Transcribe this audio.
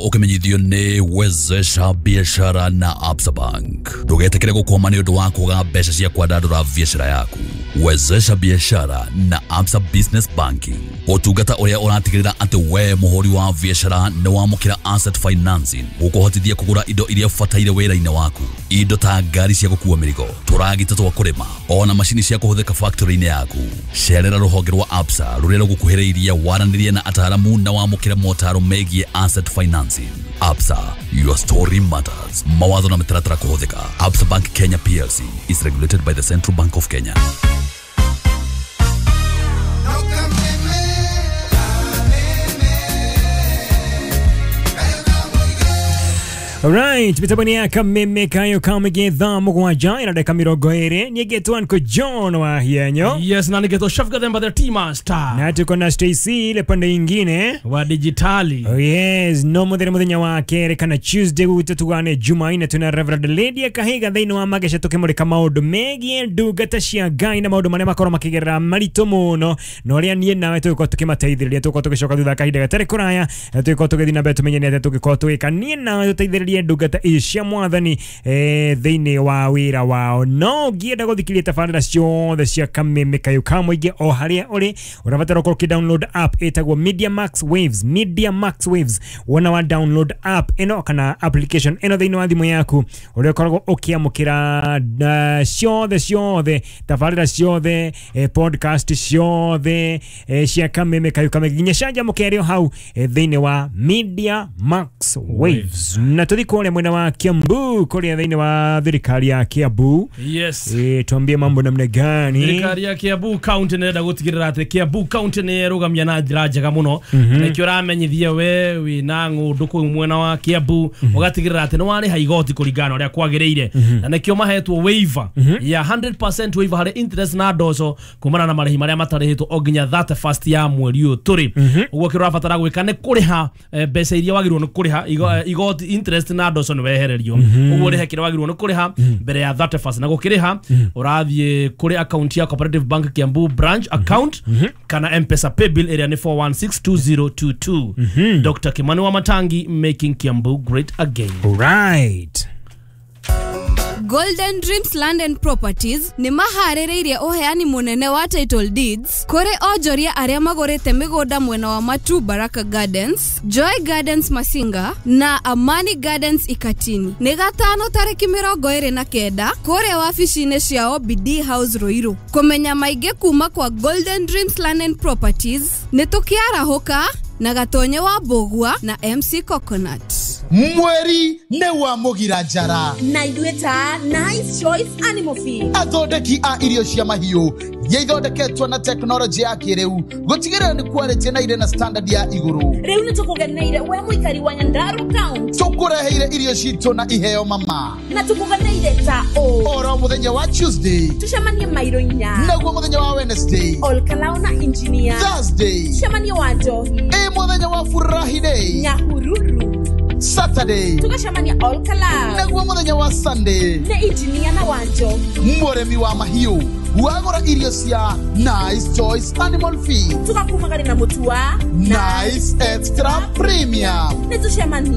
Ũkĩmenyithio nĩ Wezesha Biashara na Absa Bank. Ndũgetĩkĩre gũkwama nĩ ũndũ wa kwaga mbeca cia kwandandũra biashara yaku. Wezesha Biashara na Absa Business Banking, ũtungata ũrĩa ũratigĩrĩra atĩ we mũhũri wa biashara nĩ wamũkĩra asset financing gũkũhotithia kũgũra indo iria ũbataire wĩra-inĩ waku, indo ta ngari cia gũkua mĩrigo, tũragita twa kũrĩma, ona macini cia kũhũthĩka factory-inĩ yaku. Cerera rũhonge rwa Absa rũrĩa rũgũkuhĩrĩirie, waranĩrie na ataaramu na wamũkĩre motaro megiĩ asset financing. Absa, your story matters. Mawatho na mĩtaratara kũhũthĩka. Absa Bank Kenya PLC is regulated by the Central Bank of Kenya. Alright, mitambo ni ya Kameme Kayo Kamige, thaa 7 na dakika 20. Nigetwo nko John wa Hienyo. Yes, na nigetwo Chef Gathemba the Tea Master. Na tuko na Stacy ile pande ingine wa digitali. Oh yes, no muthenya muthenya wa kere kana Tuesday gututugane Jumaine tuna Reverend Lydia Kahiga thiini wa magesha tukimurika maundu megie ndungata cia Ngai na maundu maria makorwo makigerera maritu muno na uria nie nawe tugikorwo tukimateithĩrĩria. Tugikorwo tugicoka thutha kahinda gatarĩ kũraya, tugikorwo tugĩthiĩ na mbere tumenye nĩ atĩa tũngĩkorwo tũgĩka nie nawe tũteithĩrĩrie ndungata ici cia mwathani thĩinĩ wa wĩra wao. No ũngĩenda gũthikĩrĩria tabarĩra ciothe cia Kameme Kayo ka Mũingĩ o harĩa ũrĩ, ũrabatara ũkorwo ũkĩ-download app ĩtagwo Media Max Waves. Media Max Waves, wona wa download app ĩno kana application ĩno thĩinĩ wa thimũ yaku, ũrĩa ũkoragwo ũkĩamũkĩra ciothe ciothe tabarĩra ciothe, podcast ciothe cia Kameme Kayo ka Mũingĩ nginya canjamũke ĩrĩ o hau thĩinĩ wa Media Max Waves. Na tuthi kũrĩa mwena wa Kiambu, kũrĩa thĩinĩ wa thirikari ya Kiambu. Yes. Tuambie mambo namna gani? Thirikari ya Kiambu County nĩrenda gũtigĩrĩra atĩ Kiambu County nĩ ĩrũgamia na njĩra njega mũno. Nĩkĩo ũramenyithia we wĩna ng'ũndũ kũu mwena wa Kiambu, ũgatigĩrĩra atĩ nĩ warĩha igoti kũringana na ũrĩa kwagĩrĩire. Na nĩkĩo mahetwo waiver ya 100% waiver harĩ interest na ndoco kumana na marĩhi marĩa matarĩhĩtwo o nginya 31st ya mweri ũyũ tũrĩ. Ũguo kĩrĩa ũrabatara gwĩka nĩ kũrĩha mbeca iria wagĩrĩirwo nĩ kũrĩha igoti, interest na ndoco nĩ wehererio. Ũguo ũrĩhe kĩrĩa wagĩrĩirwo nĩ kũrĩha mbere ya 31st, na gũkĩrĩha ũrathiĩ kũrĩ account ya Cooperative Bank Kiambu branch account kana M-Pesa paybill ĩrĩa nĩ 4162022. Dr. Kimani wa Matangi, making Kiambu great again. All right. Golden Dreams Land and Properties nĩ maharĩrĩirie ũheani mũnene wa title deeds kũrĩ onjoria arĩa magũrĩte mĩgũnda mwena wa Matu Baraka Gardens, Joy Gardens Masinga na Amani Gardens Ikatini. Nĩ gatano tarĩki 29 kũrĩa wabici-inĩ ciao BD House Ruiru. Kũmenya maingĩ kuma kwa Golden Dreams Land and Properties nĩ tũkĩarahũka na Gatonye wa Mbũgua na MC Coconut. Mweri nĩ wa mũgira njara na ithuĩ ta Nice Choice Animal Feed, athondeki a irio cia mahiũ iria ithondeketwo na tekinoronjĩ ya kĩrĩu gũtigĩrĩra nĩ quality na irĩ na standard ya igũrũ. Rĩu nĩ tũkũgeneire we mũikari wa Nyandarua County, tũkũreheire irio citũ na iheo mama, na tũkũgeneire ta ũ oro mũthenya wa Tuesday tũcemanie mairo 4, naguo mũthenya wa Wednesday Olkalao na engineer, Thursday tũcemanie wa Njohi, ĩ mũthenya wa Furahi Day Nyahururu, Saturday tũgacemania Olkalao, naguo mũthenya wa Sunday nĩ engineer na wa Njohi. Mũrĩmi wa mahiũ wagũra irio cia Nice Choice Animal Feed tũgakumagari na mũtu wa Nice Extra Premium nĩ tũcemanie.